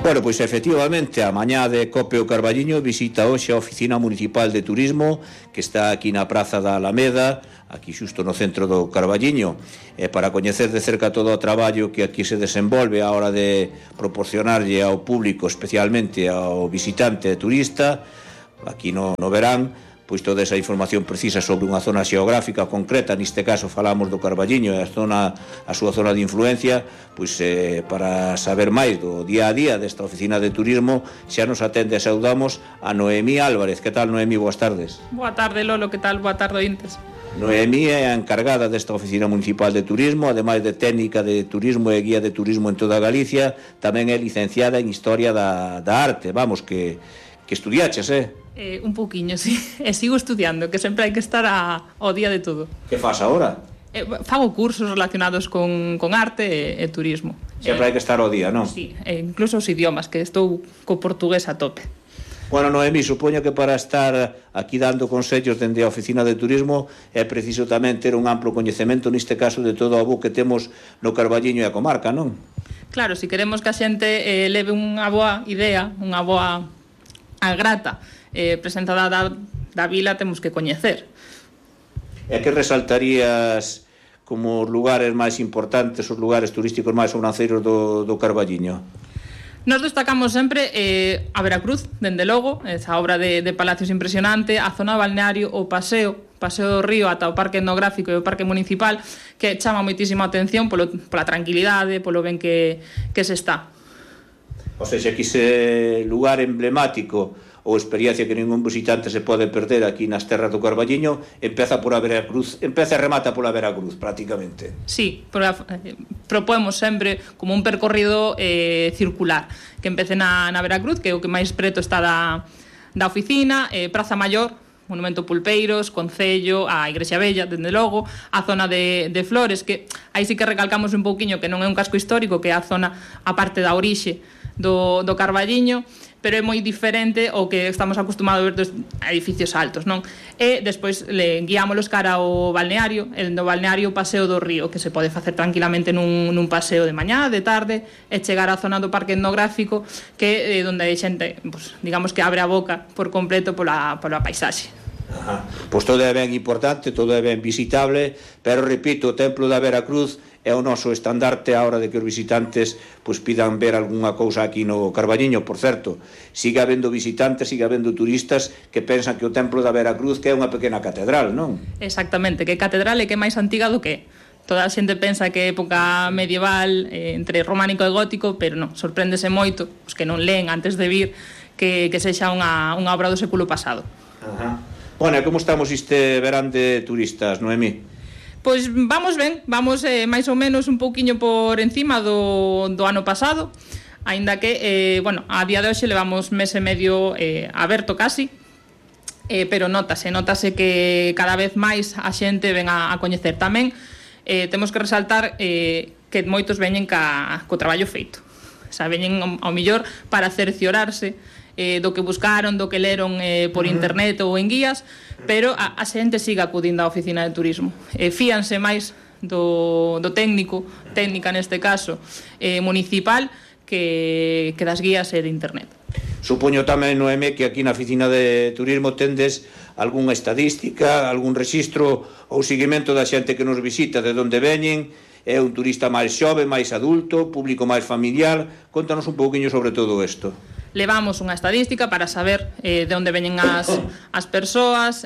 Bueno, pois efectivamente, a mañá de Cope o Carballiño visita hoxe a Oficina Municipal de Turismo, que está aquí na Praza da Alameda, aquí xusto no centro do Carballiño, para coñecer de cerca todo o traballo que aquí se desenvolve a hora de proporcionarlle ao público, especialmente ao visitante e turista, aquí no verán, pois toda esa información precisa sobre unha zona xeográfica concreta. Neste caso falamos do Carballiño e a súa zona de influencia, pois para saber máis do día a día desta oficina de turismo xa nos atende e saudamos a Noemí Álvarez. Que tal, Noemí? Boas tardes. Boa tarde, Lolo, que tal? Boa tarde, ointes. Noemí é a encargada desta oficina municipal de turismo, ademais de técnica de turismo e guía de turismo en toda Galicia, tamén é licenciada en Historia da Arte. Vamos, que estudiaches, Un pouquiño, sí. E sigo estudiando, que sempre hai que estar ao día de todo. Que faz agora? Fago cursos relacionados con arte e turismo. Sempre hai que estar ao día, non? Sí, incluso os idiomas, que estou co portugués a tope. Bueno, Noemí, supoño que para estar aquí dando consellos dende a oficina de turismo é preciso tamén ter un amplo coñecemento, neste caso, de todo o bo que temos no Carballiño e a comarca, non? Claro, se queremos que a xente leve unha boa idea, unha boa grata presentada da vila, temos que coñecer. E que resaltarías como os lugares máis importantes, os lugares turísticos máis sobranceiros do Carballiño? Nos destacamos sempre a Veracruz, dende logo, esa obra de palacios impresionante, a zona balneario, o paseo do río ata o parque etnográfico e o parque municipal, que chama moitísima atención pola tranquilidade, polo ben que se está. O seja, que ese lugar emblemático ou experiencia que ningún visitante se pode perder aquí nas terras do Carballiño empeza e remata pola Veracruz, prácticamente. Sí, propoemos sempre como un percorrido circular, que empece na Veracruz, que é o que máis preto está da oficina, Praza Maior, Monumento Pulpeiros, Concello, a Igrexa Bella, dende logo, a zona de Flores, que aí sí que recalcamos un pouquiño que non é un casco histórico, que é a zona, a parte da orixe do Carballiño, pero é moi diferente ao que estamos acostumados a ver dos edificios altos, non? E despois guiámolos cara ao balneario, no balneario Paseo do Río, que se pode facer tranquilamente nun paseo de mañá, de tarde, e chegar á zona do parque etnográfico, que é onde a xente, pues, digamos que abre a boca por completo pola paisaxe. Pois todo é ben importante, todo é ben visitable, pero repito, o Templo da Veracruz é o noso estandarte a hora de que os visitantes pois pidan ver algunha cousa aquí no Carballiño. Por certo, sigue habendo visitantes, sigue habendo turistas que pensan que o Templo da Veracruz que é unha pequena catedral, non? Exactamente, que catedral é que é máis antiga do que toda a xente pensa que é época medieval, entre románico e gótico, pero non, sorpréndese moito os que non leen antes de vir que sexa unha obra do século pasado. Bueno, como estamos este verán de turistas, Noemí? Pois vamos ben, vamos máis ou menos un pouquiño por encima do ano pasado, aínda que, a día de hoxe levamos mes e medio aberto casi, pero notase que cada vez máis a xente ven a coñecer. Tamén temos que resaltar que moitos veñen co traballo feito, o sea, veñen ao millor para cerciorarse do que buscaron, do que leron por internet ou en guías, pero a xente siga acudindo á oficina de turismo. Fíanse máis do técnica neste caso, municipal, que das guías e de internet. Supoño tamén, Noemí, que aquí na oficina de turismo tendes algunha estadística, algún rexistro ou seguimento da xente que nos visita, de onde veñen, é un turista máis xove, máis adulto, público máis familiar. Contanos un pouquiño sobre todo isto. Levamos unha estadística para saber de onde veñen as persoas,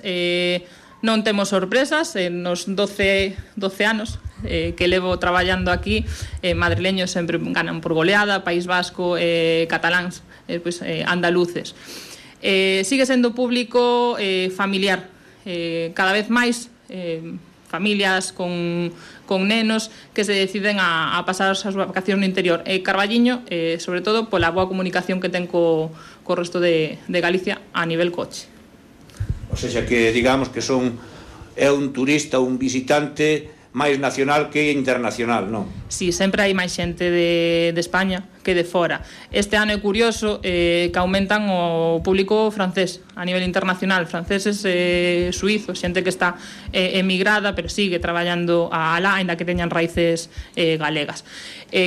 non temos sorpresas. Nos 12 anos que levo traballando aquí, madrileños sempre ganan por goleada, País Vasco, cataláns, andaluces. Sigue sendo público familiar, cada vez máis familias con nenos que se deciden a pasar as súas vacacións no interior. Carballiño, sobre todo, pola boa comunicación que ten co resto de Galicia a nivel coche. O sea, que digamos que é un turista, un visitante máis nacional que internacional, non? Sí, sempre hai máis xente de España que de fora. Este ano é curioso que aumentan o público francés a nivel internacional, franceses, suizos, xente que está emigrada pero sigue traballando alá, ainda que teñan raíces galegas.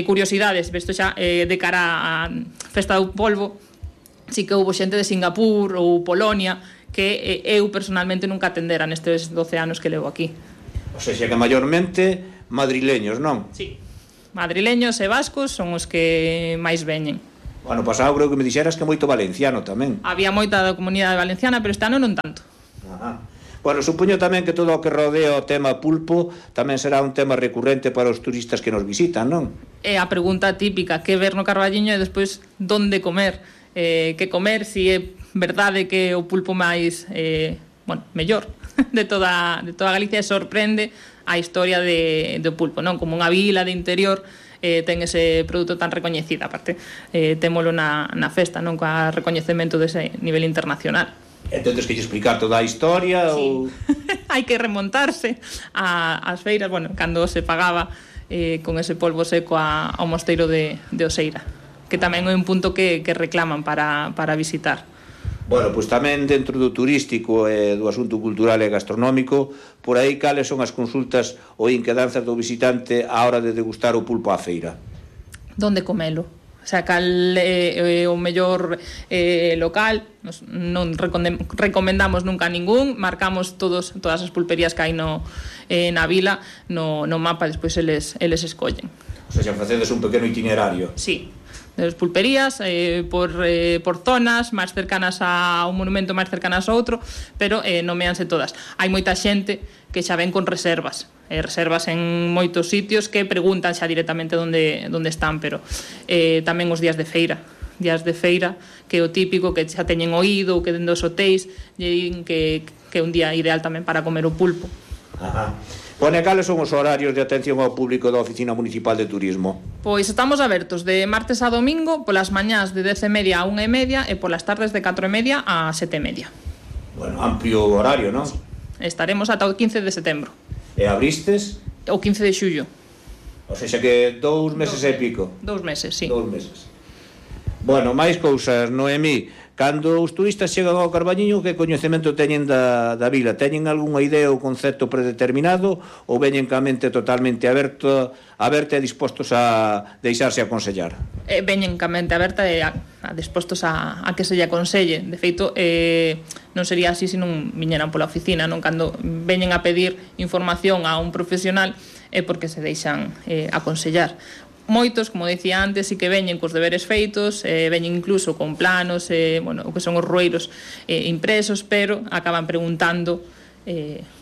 Curiosidades, isto xa de cara á Festa do Polvo, sí que houve xente de Singapur ou Polonia que eu personalmente nunca atendera nestes 12 anos que levo aquí. O sea, que maiormente madrileños, non? Sí, madrileños e vascos son os que máis veñen. O ano pasado creo que me dixeras que moito valenciano tamén. Había moita da comunidade valenciana, pero este ano non tanto. Ajá. Bueno, supoño tamén que todo o que rodea o tema pulpo tamén será un tema recurrente para os turistas que nos visitan, non? É a pregunta típica, que ver no Carballiño e despois donde comer. Que comer, si é verdade que o pulpo máis mellor de toda Galicia, sorprende a historia do pulpo, non? Como unha vila de interior ten ese produto tan recoñecido, aparte témolo na festa, non? Coa recoñecemento dese nivel internacional. Entón, que explicar toda a historia? Sí. Ou... hai que remontarse ás feiras, cando se pagaba con ese polvo seco ao mosteiro de Oseira, que tamén é un punto que reclaman para visitar. Bueno, pois tamén dentro do turístico e do asunto cultural e gastronómico, por aí cales son as consultas ou inquedanzas do visitante á hora de degustar o pulpo á feira? Donde comelo? O sea, cal é o mellor local, non recomendamos nunca ningún, marcamos todas as pulperías que hai na vila no mapa, despois eles escollen. O sea, facedes un pequeno itinerario. Sí, das pulperías por zonas máis cercanas a un monumento, máis cercanas a outro, pero nomeanse todas. Hai moita xente que xa ven con reservas en moitos sitios que preguntan xa directamente onde están, pero tamén os días de feira, que é o típico, que xa teñen oído ou que dentro dos hotéis lle din que é un día ideal tamén para comer o pulpo. Ajá. Pone, cales son os horarios de atención ao público da Oficina Municipal de Turismo? Pois estamos abertos de martes a domingo, polas mañás de 10:30 a 1:30 e polas tardes de 4:30 a 7:30. Bueno, amplio horario, non? Sí. Estaremos ata o 15 de setembro. E abristes? O 15 de xullo. O sea que 2 meses e pico. 2 meses, sí. 2 meses. Bueno, máis cousas, Noemí. Cando os turistas chegan ao Carballiño, que coñecemento teñen da vila? Teñen algunha idea ou concepto predeterminado ou veñen ca mente totalmente aberta e dispostos a deixarse aconsellar? Veñen ca mente aberta e dispostos a que se lle aconselle. De feito, non sería así se non viñeran pola oficina, non? Cando veñen a pedir información a un profesional é porque se deixan aconsellar. Moitos, como dicía antes, sí que veñen cos deberes feitos, veñen incluso con planos, o que son os rueiros impresos, pero acaban preguntando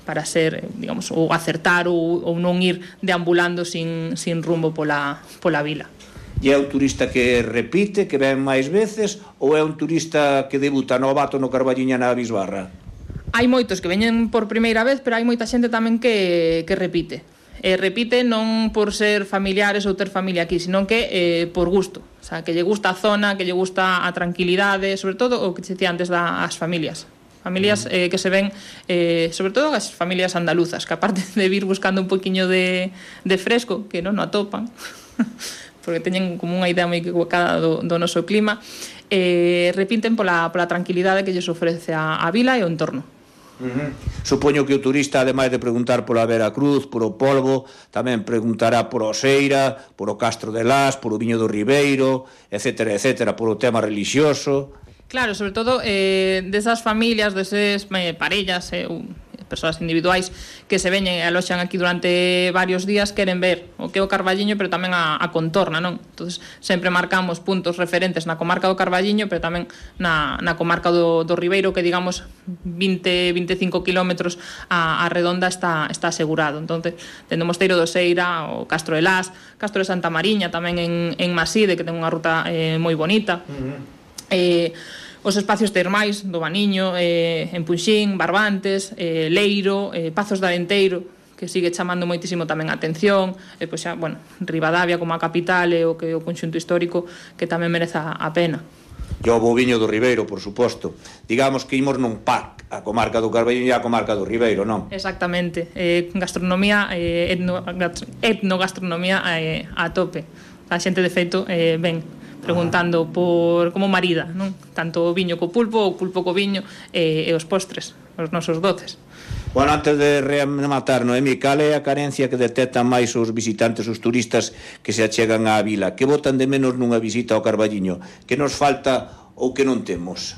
para ser, digamos, ou acertar ou non ir deambulando sin rumbo pola vila. E é un turista que repite, que ven máis veces, ou é un turista que debuta novato no Carballiño na Bisbarra? Hai moitos que veñen por primeira vez, pero hai moita xente tamén que repite. Repite non por ser familiares ou ter familia aquí, sino que por gusto, o sea, que lle gusta a zona, que lle gusta a tranquilidade, sobre todo o que se dicía antes das familias que se ven, sobre todo as familias andaluzas, que aparte de vir buscando un poquinho de fresco, que non o atopan porque teñen como unha idea moi equivocada do noso clima, repiten pola tranquilidade que lles ofrece a vila e o entorno. Supoño que o turista, ademais de preguntar pola Veracruz, por o polvo, tamén preguntará por Oseira, por o Castro de Las, por o Viño do Ribeiro, etcétera, etcétera, por o tema relixioso. Claro, sobre todo desas familias, deses parellas, persoas individuais que se veñen e aloxan aquí durante varios días, queren ver o que é o Carballiño, pero tamén a contorna, non? Entonces, sempre marcamos puntos referentes na comarca do Carballiño, pero tamén na comarca do Ribeiro, que digamos 20-25 kilómetros a redonda está asegurado. Entonces, tendo o Mosteiro do Oseira, o Castro de Las, Castro de Santa Mariña, tamén en Maside, que ten unha ruta moi bonita. Os espacios termais do Baniño, en Punxín, Barbantes, Leiro, Pazos de Arenteiro, que sigue chamando moitísimo tamén a atención, e pois xa, Ribadavia como a capital e o conxunto histórico, que tamén merece a pena. E o boviño do Ribeiro, por suposto. Digamos que imos nun pack, a comarca do Carballiño e a comarca do Ribeiro, non? Exactamente. Gastronomía, etnogastronomía a tope. A xente, de feito, ven preguntando por como marida, non? Tanto o viño co pulpo, o pulpo co viño e os postres, os nosos doces. Bueno, antes de rematar, Noemí, cal é a carencia que detectan máis os visitantes, os turistas que se achegan á vila? Que botan de menos nunha visita ao Carballiño? Que nos falta ou que non temos?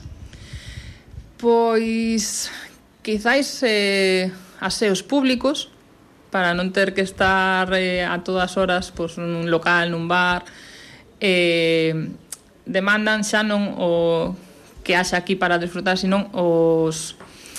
Pois quizáis aseos públicos, para non ter que estar a todas horas pois, nun local, nun bar. Demandan xa non o que haxa aquí para desfrutar, senón os